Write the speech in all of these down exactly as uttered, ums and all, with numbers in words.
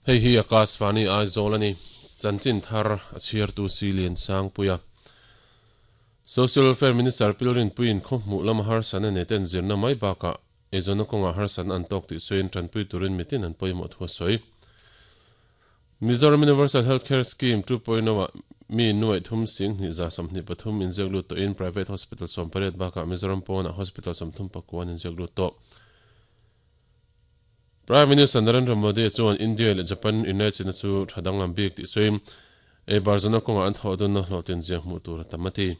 Hei hi Akashvani Aizawl ani chanchin thar a chhiar tu si lian sang puia Social Welfare Minister Pilrin Puin khawhmuh lama harsan a nei ten zirna mai bakah eizawnna kawnga harsan an tawk tih sawiin tanpui turin mitin an pawimawh thu a sawi. Mizoram Universal Healthcare Scheme two point oh ah mi nuaih thum sing hnih za sawmhnih pathum inziak lut tawhin private hospital sawm pariat bakah Mizoram pawnah hospital sawmthum pakua an inziak lut tawh. Prime Minister Narendra Modi chuan India leh Japan inlaichinna chu tha danglam bik tih sawiin ei bar zawna kawngah an thawh dawnna hlawhtlin zia hmuh tur a tam a ti.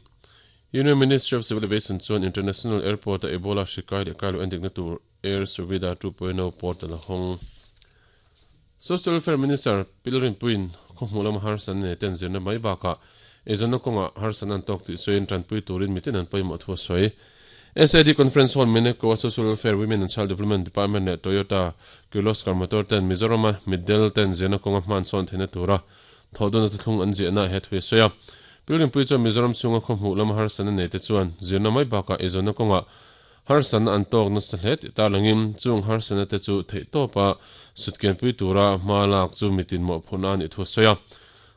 Union Ministry of Civil Aviation chuan International Airport a Ebola hri kai leh kai loh endikna tur Air Suvidha two point oh portal a hawng. Social Welfare Minister Pilrin Puin khawhmuh lama harsan nei ten zirna mai bakah eizawnna kawngah harsan an tawk tih sawiin tanpui turin mitin an pawimawh thu a sawi. S A D Conference Hall Meneko a Social Welfare Women and Child Development Department leh Toyota Kirloskar Motor ten Mizorama middel ten zirna kawnga hman sawn theihna tura thawh dawnna thuthlung an ziahna he thu a sawi a. Pilrin Pui chuan Mizoram chhunga khawhmuh lama harsan a nei te chuan zirna mai bakah eizawnna kawngah harsan an tawk nasa hle tih tarlangin chung harsana te chu theih tawpa sutkianpui tura hma lak chu mitin mawhphurhna a nih thu a sawi a.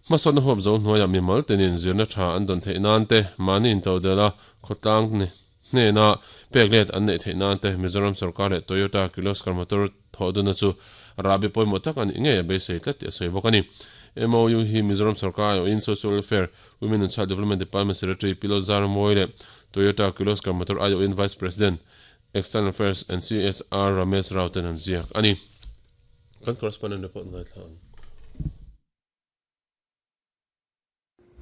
Hmasawnna huap zo hnuaiah mimal tenin zirna tha an dawn theih nan te mahni intodela khawtlang ni hnena pek let an neih theih nan te Mizoram sarkar leh Toyota Kirloskar Motor thawh dawnna chu rahbi pawimawh tak a nih ngei a beisei tlat tih a sawi bawk a ni. M O U hi Mizoram sarkar aiawhin Social Welfare Women and Child Development Department Secretary Pilot Zarmawi leh Toyota Kirloskar Motor aiawhin Vice President External Affairs and C S R Ramesh Rao ten an ziak a ni. Kan correspondent report ngaithla ang.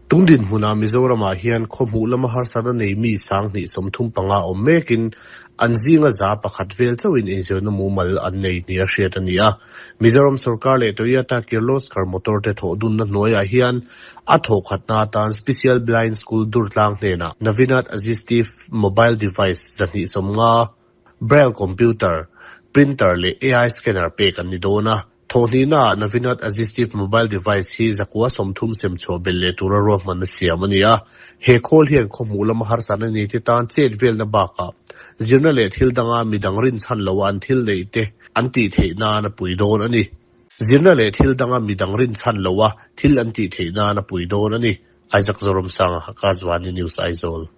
Tungdin hmuna Mizoramah hian khawhmuh lama harsana nei mi sang hnih sawmthum panga awm mekin an zinga za pakhat vel chauhin inzirna mumal an nei ni a hriat a ni a. Mizoram sarkar leh Toyota Kirloskar Motor te thawh dunna hnuaiah hian a thawh khatna atan Special Blind School Durtlang hnenah Navinat Assistive Mobile Device zahnih sawmnga Braille Computer Printer leh A I Scanner pek an ni dawn a. Thawhnihna Navinat Assistive Mobile Device hi zakua sawmthum sem chhuah bel leh tura ruahman a siam a ni a. He khawl hian khawhmuh lama harsan a ni te tan chet velna bakah zirna leh thil danga midang rin chhan lo an thil nei te an tih theih nan a pui dawn a ni. Zirna leh thil danga midang rin chhan lo a thil an tih theih nan a pui dawn a ni. Isaac Zoram Sanga Akashvani News Aizawl.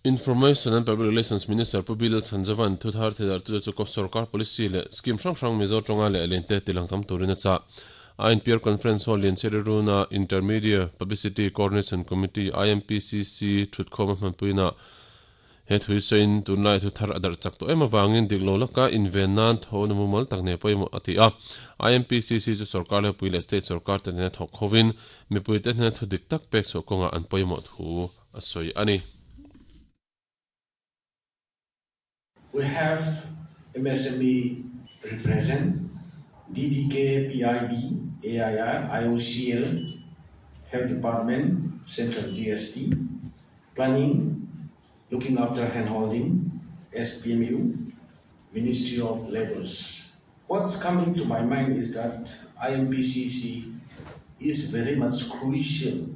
Information and Public Relations Minister Pu Bill Chhanjavan thuthar thedar tu chu ko sarkar policy leh scheme hrang hrang Mizo tonga leh lente tilang tam turin a cha. I N P R Conference Hall lian Cheriruna Intermedia Publicity Coordination Committee I M P C C thutkhawm a hmanpuina he thui sain tunlai thuthar adar chak to ema wangin diklo laka inven nan thawna mumal tak ne pawimawh a ti a. I M P C C chu sarkar le pui leh state sarkar te hnen thawk khawin mipui te hnen thu dik tak pek chhuah kawnga an pawimawh thu a sawi a ni. We have M S M E represent, D D K, P I B, A I R, I O C L, Health Department, Central G S T, Planning, Looking After Handholding, S P M U, Ministry of Labours. What's coming to my mind is that I M P C C is very much crucial.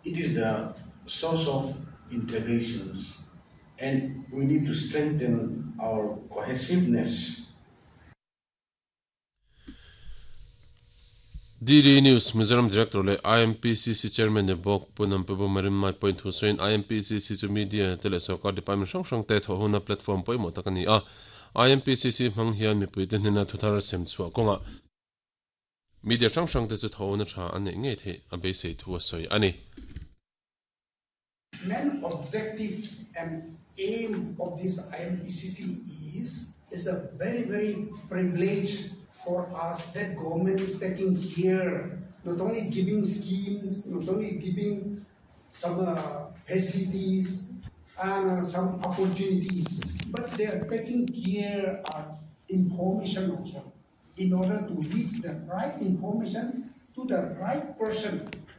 It is the source of integrations, and we need to strengthen our cohesiveness. D D News Mizoram Director le I M P C C Chairman ne bok punam pebo marim mai point hu soin I M P C C chu media tele sarkar department hrang hrang te tho huna platform pawimawh tak ani a. I M P C C hmang hian mipui te hnena thuthar sem chhuah kawnga media hrang hrang te chu tho na tha an nei ngei thei a beisei thu a sawi ani. Main objective and aim of this I M P C C is, is a very, very privilege for us that government is taking care, not only giving schemes, not only giving some, uh, facilities and, uh, some opportunities, but they are taking care of information also in order to reach the right information to the right person.